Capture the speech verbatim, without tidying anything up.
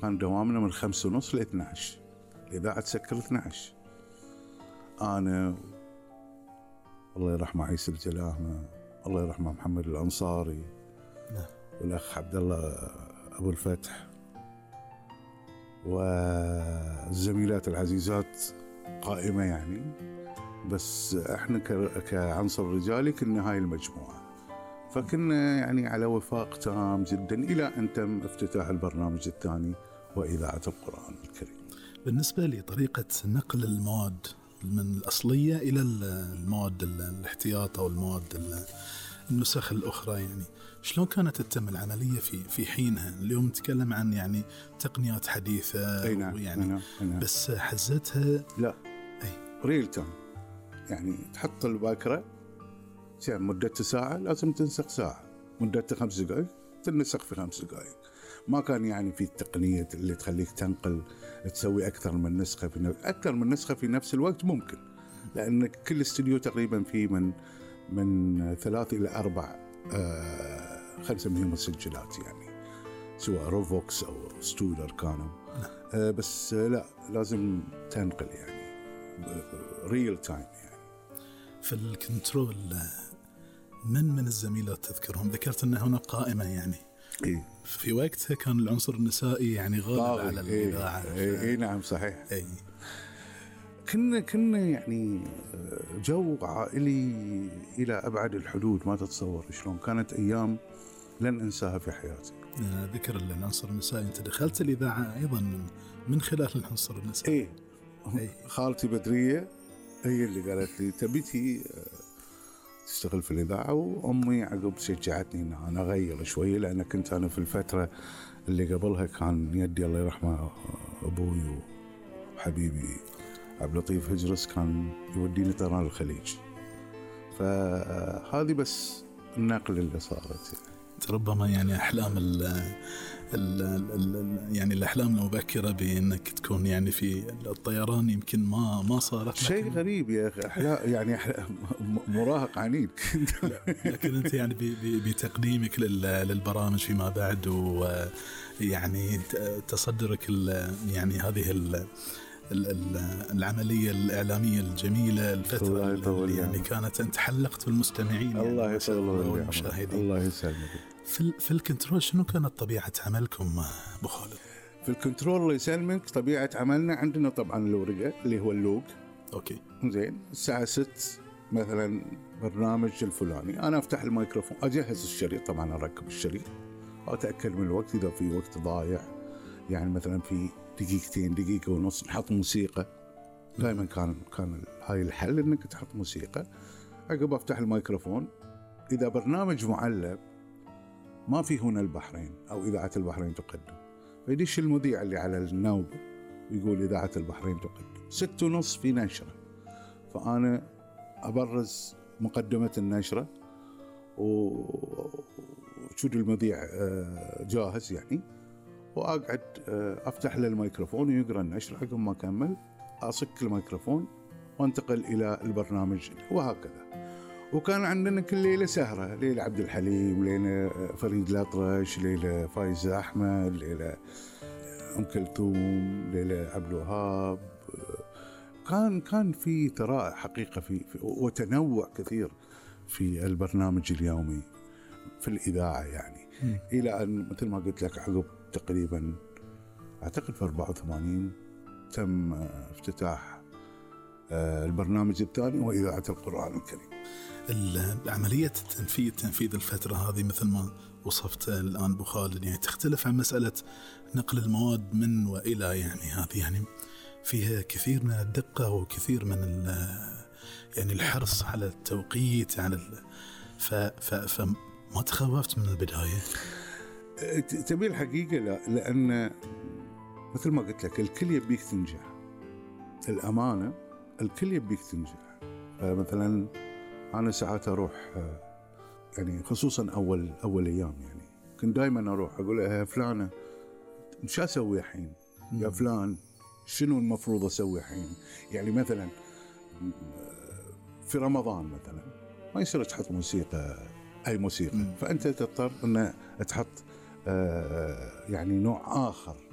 كان دوامنا من خمسة ونص لاثنى عشر، الإذاعة تسكر اثنى عشر. أنا الله يرحمه عيسى الجلاهمة، الله يرحمه محمد الأنصاري، نعم. والأخ عبد الله أبو الفتح، والزميلات العزيزات قائمة يعني، بس إحنا كعنصر رجالي كنا هاي المجموعة. فكنا يعني على وفاق تام جدا إلى أن تم افتتاح البرنامج الثاني وإذاعة القرآن الكريم. بالنسبة لطريقة نقل المواد من الأصلية إلى المواد الاحتياط أو المواد النسخ الأخرى، يعني شلون كانت تتم العملية في في حينها؟ اليوم نتكلم عن يعني تقنيات حديثة، أي نعم. يعني أي نعم. أي نعم. بس حزتها لا أي ريل تايم، يعني تحط الباكرة مدة ساعة لازم تنسخ ساعة، مدة خمس دقائق تنسخ في خمس دقائق. ما كان يعني في التقنية اللي تخليك تنقل تسوي أكثر من نسخة في نفس أكثر من نسخة في نفس الوقت. ممكن، لأن كل استوديو تقريبا فيه من من ثلاث إلى أربع آه خلينا نسميهم مسجلات، يعني سواء روفوكس أو ستودر كانوا آه بس آه لا لازم تنقل يعني ريل تايم. يعني في الكنترول من من الزميلات تذكرهم؟ ذكرت أن هناك قائمة يعني إيه؟ في وقتها كان العنصر النسائي يعني غالب على الإذاعة. إيه, إيه, إيه نعم صحيح. إيه. كنا كنا يعني جو عائلي إلى أبعد الحدود، ما تتصور شلون كانت أيام لن أنساها في حياتي. ذكر العنصر النسائي، أنت دخلت الإذاعة أيضا من من خلال العنصر النسائي. إيه, إيه. خالتي بدرية هي اللي قالت لي تبيتي تشتغل في الإذاعة، وأمي عقب شجعتني إن أنا أغير شوية، لأن كنت أنا في الفترة اللي قبلها كان يدي الله يرحمه أبوي وحبيبي عبد اللطيف هجرس كان يوديني طيران الخليج، فهذه بس النقل اللي صارت. ربما يعني أحلام ال ال ال يعني الأحلام المبكرة بأنك تكون يعني في الطيران يمكن ما ما صارت. شيء غريب يا أخي، أحلام يعني أحلام مراهق عنيد كنت. لكن أنت يعني بتقديمك للبرامج فيما بعد، ويعني تصدرك يعني هذه ال العملية الإعلامية الجميلة، الفترة اللي يعني كانت أنت حلقت بالمستمعين. الله يعني يسلمك والمشاهدين. الله يسلمك. في في الكنترول شنو كانت طبيعة عملكم أبو خالد؟ في الكنترول الله يسلمك طبيعة عملنا عندنا طبعا الورقة اللي هو اللوج. أوكي. زين الساعة ست مثلا برنامج الفلاني، أنا أفتح الميكروفون أجهز الشريط، طبعا أركب الشريط وأتأكد من الوقت إذا في وقت ضايع، يعني مثلا في دقيقتين دقيقة ونص نحط موسيقى. دائما كان كان هاي الحل إنك تحط موسيقى. عقب أفتح الميكروفون، إذا برنامج معلب ما في هنا البحرين أو إذاعة البحرين تقدم، فيدش المذيع اللي على النوب ويقول إذاعة البحرين تقدم ست ونص في نشرة، فأنا أبرز مقدمة النشرة وشود المذيع جاهز يعني، وأقعد أفتح له الميكروفون ويقرأ النشرة. عقب ما أكمل أصك الميكروفون وانتقل إلى البرنامج وهكذا. وكان عندنا كل ليلة سهرة، ليلة عبد الحليم، ليلة فريد الأطرش، ليلة فايز أحمد، ليلة أم كلثوم، ليلة عبد الوهاب. كان كان في ثراء حقيقة في, في وتنوع كثير في البرنامج اليومي في الإذاعة يعني. م. إلى أن مثل ما قلت لك عقب تقريبا أعتقد في أربعة وثمانين تم افتتاح البرنامج الثاني وإذاعة القرآن الكريم. العملية التنفيذ تنفيذ الفترة هذه مثل ما وصفت الآن أبو خالد يعني تختلف عن مسألة نقل المواد من وإلى، يعني هذه يعني فيها كثير من الدقة وكثير من يعني الحرص على التوقيت على ف ف فما تخوفت من البداية؟ تبي الحقيقة لا، لأن مثل ما قلت لك الكل يبيك تنجح، الأمانة الكل يبيك تنجح. مثلا أنا ساعات أروح يعني خصوصا أول أول أيام يعني كنت دائما أروح أقول يا فلانة مش أسوي حين، يا فلان شنو المفروض أسوي حين. يعني مثلا في رمضان مثلا ما يصير تحط موسيقى أي موسيقى، فأنت تضطر أن تحط يعني نوع آخر